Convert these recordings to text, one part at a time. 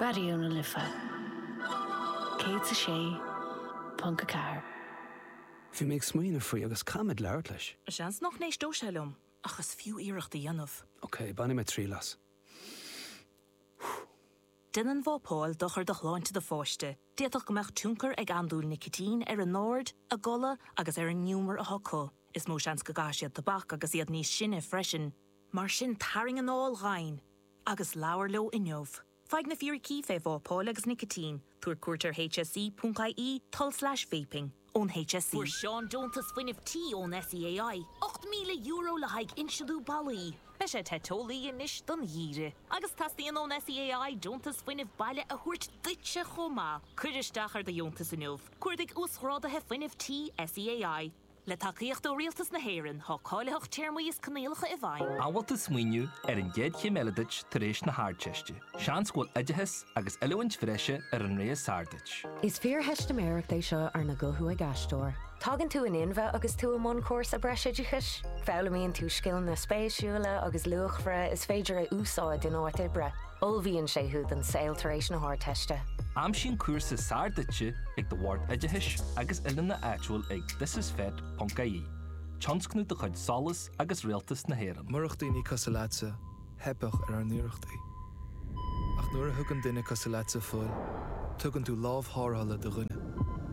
Raidió na Life 106.4. Bhí mé ag smaoineamh faoi agus caithfimid labhairt leis. Seans nach n-éisteoidh sé liom, ach is fiú iarracht a dhéanamh. Ok, bainfidh mé triail as. Déanann vápáil dochar do shláinte do pháiste. D'fhéadfadh go mbeadh tionchar ag andúil nicitín ar a n-aird, a gcodladh agus ar an ngiúmar atá acu. Is mó seans go gcaithfidh siad tobac agus iad níos sine freisin. Mar sin, tarraing anáil dhomhain agus labhair leo inniu. Faigh na fíricí fé vápáil agus nicitín. Tabhair cuairt ar hse.ie tulslais vaping ón HSE. Fuair Seán deontas fuinnimh tí ón SEAI, €8,000 le haghaidh insealú ballaí. Beidh sé te teolaí anois don gheimhreadh. Agus teastaíonn ón SEAI deontas fuinnimh baile a thabhairt duitse chomh maith. Cuir isteach ar do dheontas inniu. Cuardaigh Uasghráduithe Fuinnimh Tí SEAI. Le tacaíocht ó Rialtas na hÉireann, tá cáilitheacht téarmaí is coinníollacha i bhfeidhm. An bhfuil tú ag smaoineamh ar an gcéad chéim eile duit tar éis na hArdteiste? Seans go bhfuil oideachas agus oiliúint bhreise ar an rogha is fearr duit. Is fíortheistiméireacht é seo arna guthú ag aisteoir. Tagann tú in inmhe agus tú i mbun cúrsa breisoideachais. Foghlaimíonn tú scileanna spéisiúla agus luachmhara is féidir a úsáid in áit oibre. Ullmhaíonn sé thú don saol tar éis na hArdteiste. Aimsigh an cúrsa is fearr duitse ag do Bhord Oideachais agus Oiliúna áitiúil ag thisisfet ponc ie, tionscnamh de chuid SOLAS agus Rialtas na hÉireann. Murach daoine cosúil leatsa, theipfeadh ar ár n-iarrachtaí. Ach nuair a thugann duine cosúil leatsa fuil, tugann tú lámh tharrthála do dhuine.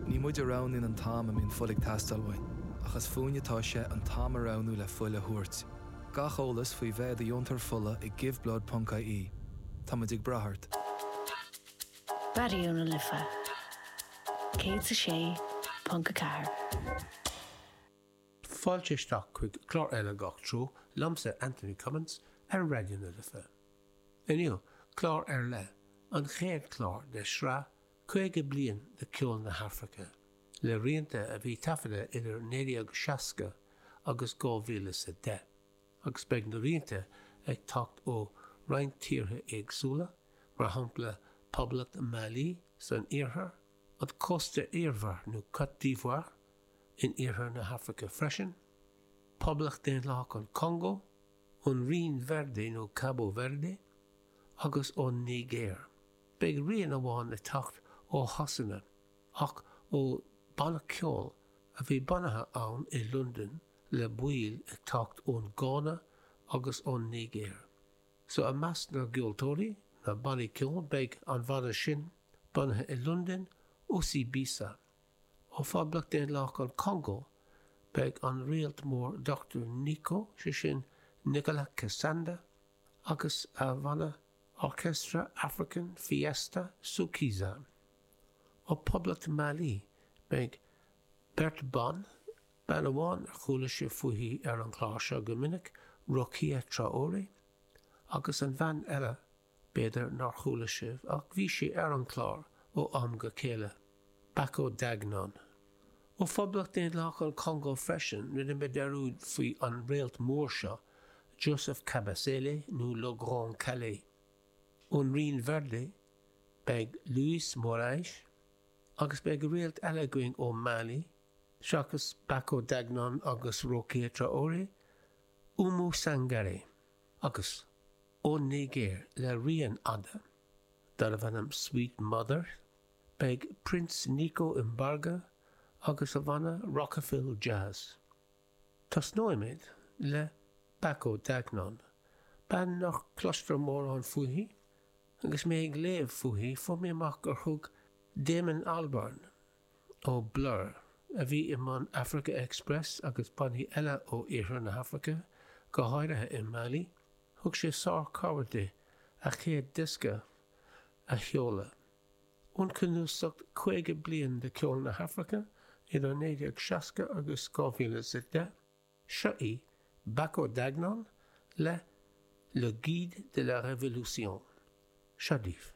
Ní muid a roghnaíonn an t-am a mbíonn fuil ag teastáil uainn, ach is fúinne atá sé an t-am a roghnú le fuil a thabhairt. Gach eolas faoi bheith i do dheontóir fola ag giveblood ponc ie. Táimid ag brath ort. Raidió na Life 106.4. Fáilte isteach chuig clár eile Gach Treo liomsa Anthony Cummins ar Raidió na Life. Inniu, clár ar leith, an chéad chlár de shraith 50 bliain de cheol na hAfraice, le rianta a bhí taifeadta idir 1960 agus 2010, agus beidh na rianta ag teacht ó roinnt tíortha éagsúla, mar shampla Poblacht Mhailí san iarthar, an Cósta Iarmhar nó Côte d'Ivoire in iarthar na hAfraice freisin, Poblacht Daonlathach an Chongó, ón Rinn Verde nó Cabo Verde, agus ón Nigéir. Beidh rian amháin ag teacht ó Shasana ach ó banna ceoil a bhí bunaithe ann i Londain le baill ag teacht ón Gána agus ón Nigéir. So i measc na gceoltóirí, na bannaí ceoil, beidh an bhanna sin bunaithe i Londain, Osibisa. Ó Phoblacht Daonlathach an Chongó beidh an réalt mór Dr Nico, sé sin Nicolas Kasanda, agus a bhanna Orchestra African Fiesta Soukisa. Ó Phoblacht Mhailí beidh beirt ban, bean amháin ar chuala sibh fúithi ar an chlár seo go minic, Rokia Traoré, agus an bhean eile, b'fhéidir nár chuala sibh ach bhí sí ar an chlár ó am go chéile, Bako Dagnon. Ó Phoblacht Daonlathach an Chongó freisin, rinne mé dearúd faoi an réalt mór seo, Joseph Kabasele nó Le Grand Kallé. Ón Rinn Verde beidh Luiz Morais agus beidh réalt eile againn ó Mali, seachas Bako Dagnon agus Rokia Traoré, Oumou Sangaré. Agus ón Nigéir le rian fhada darbh ainm Sweet Mother, beidh Prince Nico Mbarga agus a bhanna Rocafil Jazz. Tosnóimid le Bako Dagnon, bean nach gcloistear mórán fúithi. Agus mé ag léamh fúithi, fuair mé amach gur thug Damon Albarn ó Blur, a bhí i mbun Africa Express agus bannaí eile ó iarthar na hAfraice, go háirithe i Mali, thug sé sár-chabhair di a chéad diosca a sheoladh. Ón cnuasach 50 bliain de cheol na hAfraice idir 1960 agus 2010, seo í Bako Dagnon le Le Guide de la Révolution. Seo daoibh.